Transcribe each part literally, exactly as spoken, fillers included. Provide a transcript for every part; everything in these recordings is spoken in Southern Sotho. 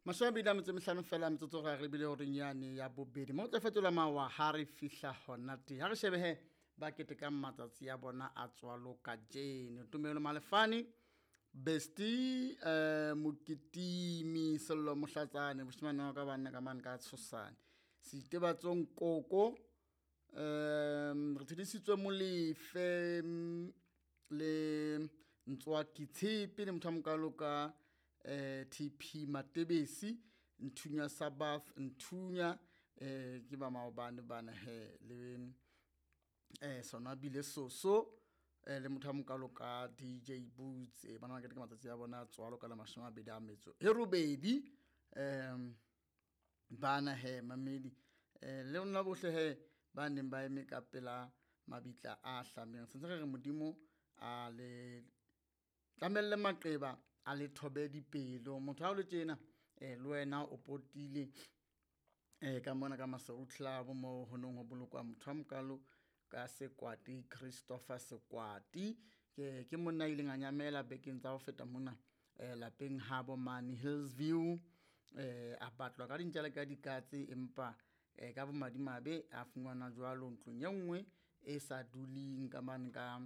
Mashome a mabedi a metso e mehlano fela metsotso gore re bile horeng yane ya bobedi mo tla fetola mawa ha re fihla hona teng. Ha re shebe he ba ketekang matsatsi a bona a tswalo kajeno. Tumelo Malefane, Besti, eh Mokitimi, Sello Mohlatsane, moshemane wa ka banna ka mane ka tshosane. Seitebatsong Koko, um re tshedisitswe Molefe mm, le Ntswaki Tshepe le motho a mokalo ka eh T P Matebesi, Nthunya Sabath, Nthunya eh ke ba maobane bana he le eh sona bile soso eh le motho a mokalo ka D J Boots, eh bana ba keteka matsatsi a bona a tswalo ka la mashome a mabedi a metso e robedi. Um bana he mamedi eh le lona bohle he ba neng ba eme ka pela mabitla a hlameng, sentse re re modimo a le tlamelle maqeba a le thobe dipelo. Motho ha o le tjena eh le wena o potile eh ka mona ka Maseru Club mo ho neng ho bolokwa motho a mokalo ka Sekwati, Christopher Sekwati. Ke ke monna a ileng a nyamela bekeng tsa ho feta mona eh lapeng habo mane Hillsview. Eh a batlwa ka dintja le ka dikatse, empa eh ka bomadimabe a fumanwa jwalo ntlong e nngwe e sa duleng ka mane ka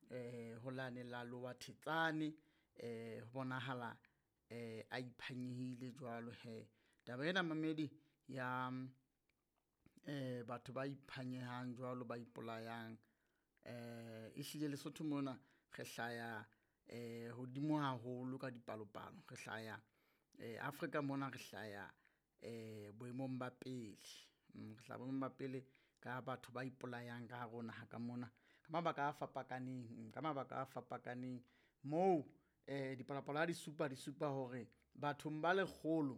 eh ho lane la Lower Thetsane. Eh ho bonahala eh a iphanyehile jwalo he. Taba ena mamedi ya eh batho ba iphanyehang jwalo ba ipolayang eh ehlile Lesotho mona re hlaya eh hodimo haholo ka dipalopalo, re hlaya eh Afrika mona re hlaya eh boemong ba pele. Mm, re hlaya boemong ba pele ka batho ba ipolayang ka hare ho naha ka mona ka mabaka a fapakaneng, ka mabaka a fapakaneng moo eh dipalopalo ha di supa di supa hore bathong ba lekgolo,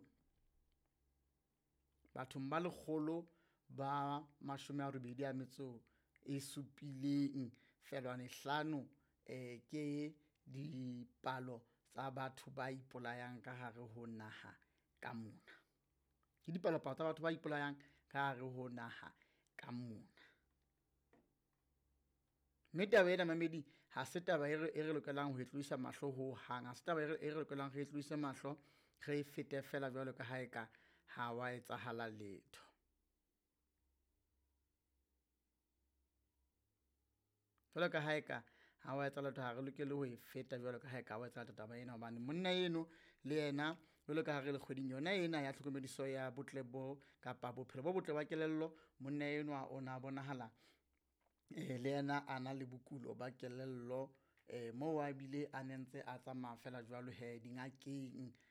bathong ba lekgolo ba mashome a robedi a metso e supileng feelwane hlano eh ke dipalo tsa batho ba ipolayang ka hare ho naha ka mona. Ke dipalopalo tsa batho ba ipolayang ka hare ho naha ka mona. Mme taba ena mamedi ha se taba e re, e re lokelang ho e tloisa mahlo ho hang, ha se taba e re, e re lokelang re e tloise mahlo re e fete fela jwalo ka ha eka ha wa etsahala letho. Jwalo ka ha eka ha wa etsahala letho, ha re lokele ho e feta jwalo ka ha eka ha wa etsahala taba ena, hobane monna eno le yena jwalo ka ha re le kgweding yona ena ya tlhokomediso ya botle bo kapa bophelo bo botle ba kelello, monna enwa o na bonahala eh le yena a na le bokulo ba kelello eh moo a bile a nentse a tsamaya fela jwalo he dingakeng.